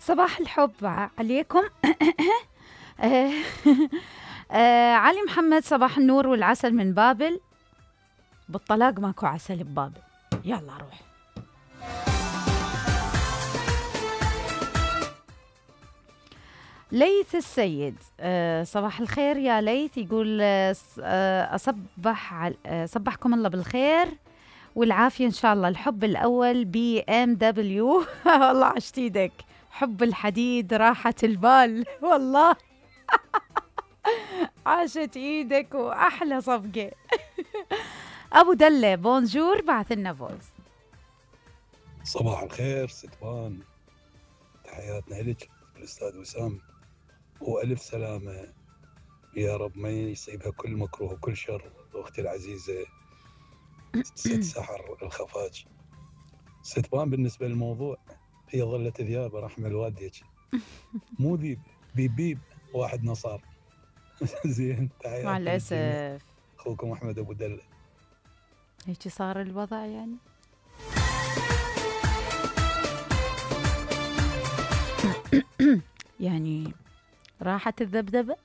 صباح الحب عليكم. علي محمد، صباح النور والعسل من بابل. بالطلاق ماكو عسل ببابل. يلا روح. ليث السيد، صباح الخير يا ليث. يقول صبحكم الله بالخير والعافية إن شاء الله. الحب الأول BMW. والله عشت ايدك. حب الحديد راحة البال والله. عاشت ايدك وأحلى صفقة. أبو دلة بونجور، بعث لنا فويس. صباح الخير ستوان، تحياتنا لك الأستاذ وسام، وألف سلامة يا رب ما يصيبها كل مكروه وكل شر. أختي العزيزة ست سحر الخفاج. ستوان، بالنسبة للموضوع هي ظلت ذيابة رحمة الوالديك، مو ذيب، بيب واحد نصار. زين، تحياتي مع الأسف. أخوكم أحمد أبو دلة. هيك صار الوضع يعني. يعني راحت الذبذبة.